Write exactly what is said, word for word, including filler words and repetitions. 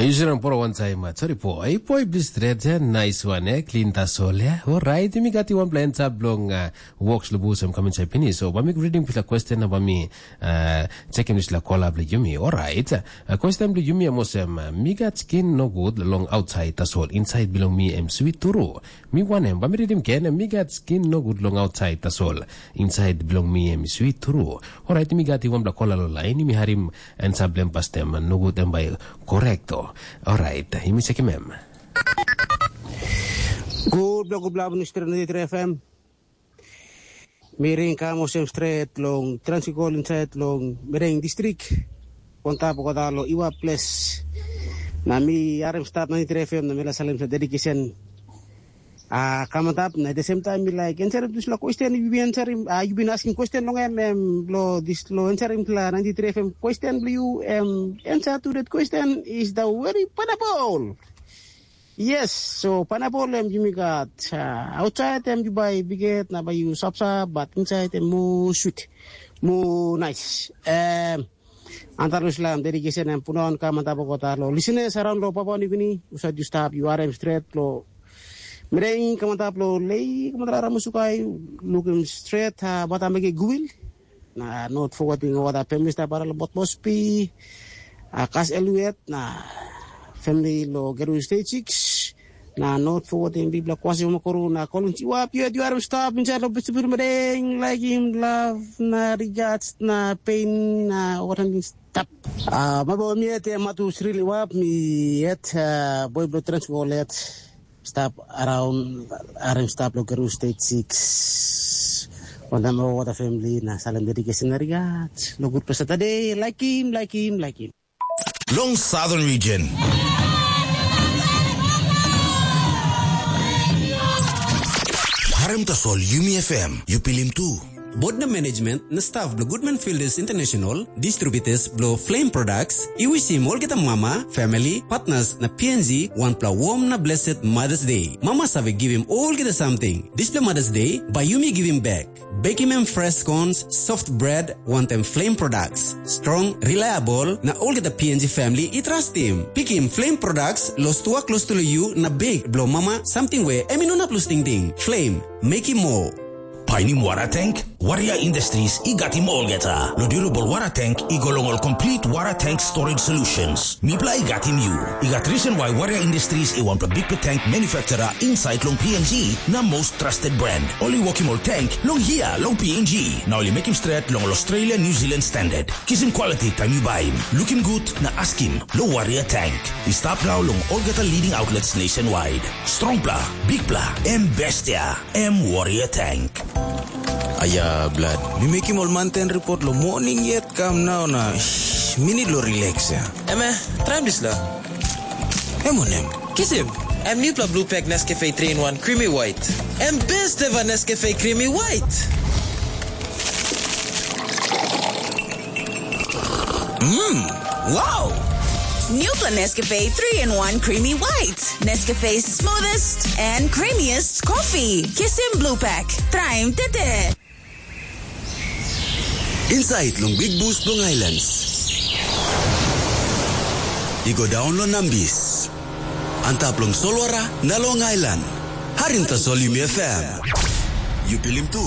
Israel poro wantaim uh, sorry po. Ai po i blis stret eh, nice one eh, clean tasol eh. Alright, mi gati wanpela answer bilong uh, works lo busem kamin sai pinis. So, ba mi reading pila question na ba mi uh, checking this la kola bli yumi. Alright. Uh, question bli yumi amosem, uh, mi gat skin no good long outside tasol, inside bilong mi em sweet turu. Mi wanem, ba mi reading ken, mi gat skin no good long outside tasol, inside bilong mi em sweet turu. Alright, mi gat wanpela kola lo line, mi harim answer bilong pastem, no good em by Correcto. Alright, yumi sekim em. Gutpela gutpela avanus stret na F M. Mi ring kam olsem stret long transikol insait long Mereng distrik. Kontap kota lo Iwa ples. Na mi harim stap na F M na mi la salim sa dedication. Ah, kam antap na at the same time mi like answer dispela question you been answering, ah, you been asking question long em em lo dis lo answering pla ninety-three F M question blo you em answer to that question is the very pineapple. Yes, so pineapple em yumi gat uh, outside em you buy biget na buy you sapsap but inside em more sweet, more nice. Um, Antar lo slam dedication em punawan kam antap kota lo listeners around lo Papua New Guinea, usait you stap you are em straight lo Mereng kam antap lo lei kam antap ramusukai, lukim straight ha bata mege guil. Na not forgetting ova da pemis da bara lo bot Mospi, a kas Eluet na family lo Geru State six. Na not forgetting bibla kwasi makaru na kolin chiwa piet you are stop inside lo bisibir Mereng like him love na regards na pain na what I'm stop. Ah, mabo mi et matu srili wap mi et boy blo transgo let. Stap around arim stap lo Geru State six. Wantam o wata family na salim dedication na rigat. Lo good pa Saturday, like him, like him, like him. Long Southern Region. Harem tasol Yumi F M, you pilim tu. Board na management na staff blo Goodman Fielders International, distributors blo Flame Products, i wisim olgeta mama, family, partners na P N G wanpela warm na blessed Mother's Day. Mama save givim olgeta samting. Dispela Mother's Day, bai yumi givim bek. Bekim em fresh scones, soft bread, wantaim Flame Products. Strong, reliable, na olgeta P N G family i trustim. Pikim Flame Products, lo stua klostu lo yu na bek blo mama, samting we em i no inap lus tingting. Flame, mekim moa. Painim wara tank? Warrior Industries i gatim olgeta. Lo durable wara tank i go long ol complete wara tank storage solutions. Mipela i gatim yu. I gat reason why Warrior Industries i wanpela bikpela tank manufacturer inside long P N G na most trusted brand. Ol i wokim ol tank long hia long P N G. Na ol i mekim stret long ol Australia New Zealand standard. Kisim quality taim yu baim. Lukim gut na askim lo Warrior Tank. I stap nau long olgeta leading outlets nationwide. Strongpela, bikpela, em bestia, em Warrior Tank. Aya, blad, mi mekim ol manten ripot lo moning yet kam nau na shh, mi nid lo relax ya. Eme, traim dispela. Em wanem? Kisim, em nupela blue pack Nescafe three in one Creamy White. Em best ever Nescafe Creamy White. Mmm, wow! Nupla Nescafe three in one Creamy White. Nescafe's smoothest and creamiest coffee. Kisim Blue Pack. Traim tete. Inside long Big Bus long Islands. I go down long Nambis. Antap long Solwara na long Island. Harim tasol Yumi F M. You pilim tu.